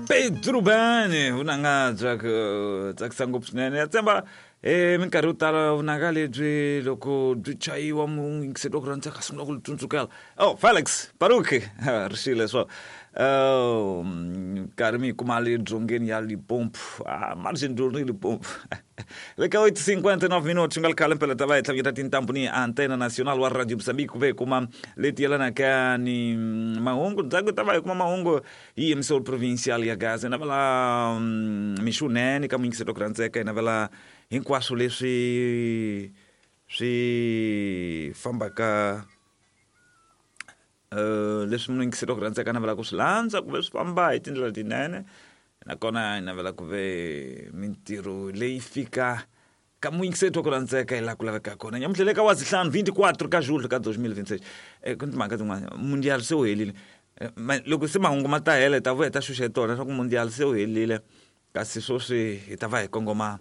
Pedro Bane vunanga bya ku tsakisa ngopfu swinene ya tshemba minkarhi yo tala vunanga lebyi loko byi chayiwa muyingiseri wa ku rhandza ka sungula ku tsundzukela oh Felix Baruki ri xile swo karhi mi yi kuma le dzongeni ya Limpopo ah margin Limpopo le ka 8:59 minutos nga ri khale mpela ta va hi tlhaveketa tintambu ni antena national wa Radio Mozambique ku ve hi kuma leti yelanaka ni mahungu ndzhaku hi ta va hi kuma mahungu hi emisoro provincial ya Gaza hi navela mixunene ka muyingiseri wa ku rhandzeka hi navela hinkwaswo leswi swi fambaka leswi muyingiseri wa ku rhandzeka a navelaka ku swi landza ku ve swi famba hi tindlela tinene nakona hi navela ku ve mintirho leyi fika ka muyingiseri wa ku rhandzeka hi laha ku lavekaka kona nyamuntlha le ka wa zihlanu 24 ka julho ka 2026 ku ni timhaka tin'wana mundial se wu helile loko se mahungu ma ta hela hi ta vuya hi ta xuxa hi tona leswaku mundial se wu helile kasi sweswi hi ta va hi kongoma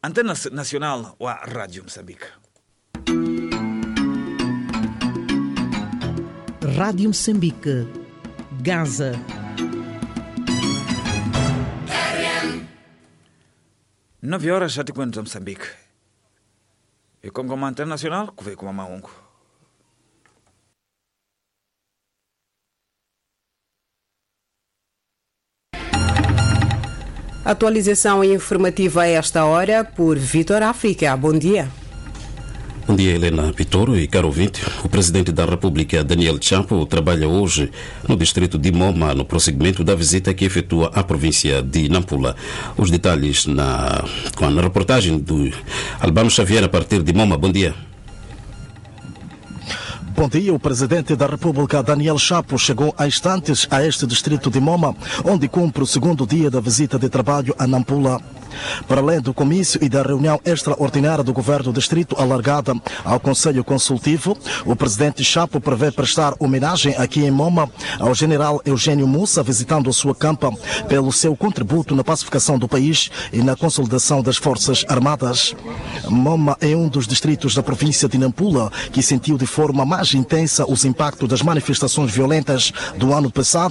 antena national wa Radio Mozambique. Rádio Moçambique, Gaza. 9 horas xa tikweni bya Mozambique. Hi kongoma international ku ve hi kuma mahungu. Atualização informativa a esta hora por Vitor África. Bom dia. Bom dia, Helena Pitoro e caro ouvinte. O presidente da República, Daniel Chapo, trabalha hoje no distrito de Moma, no prosseguimento da visita que efetua à província de Nampula. Os detalhes com a reportagem do Albano Xavier a partir de Moma. Bom dia. Bom dia. O presidente da República, Daniel Chapo, chegou há instantes a este distrito de Moma, onde cumpre o segundo dia da visita de trabalho a Nampula. Para além do comício e da reunião extraordinária do governo do distrito alargada ao Conselho Consultivo, o presidente Chapo prevê prestar homenagem aqui em Moma ao general Eugênio Mussa, visitando a sua campa pelo seu contributo na pacificação do país e na consolidação das Forças Armadas. Moma é um dos distritos da província de Nampula que sentiu de forma mais intensa os impactos das manifestações violentas do ano passado.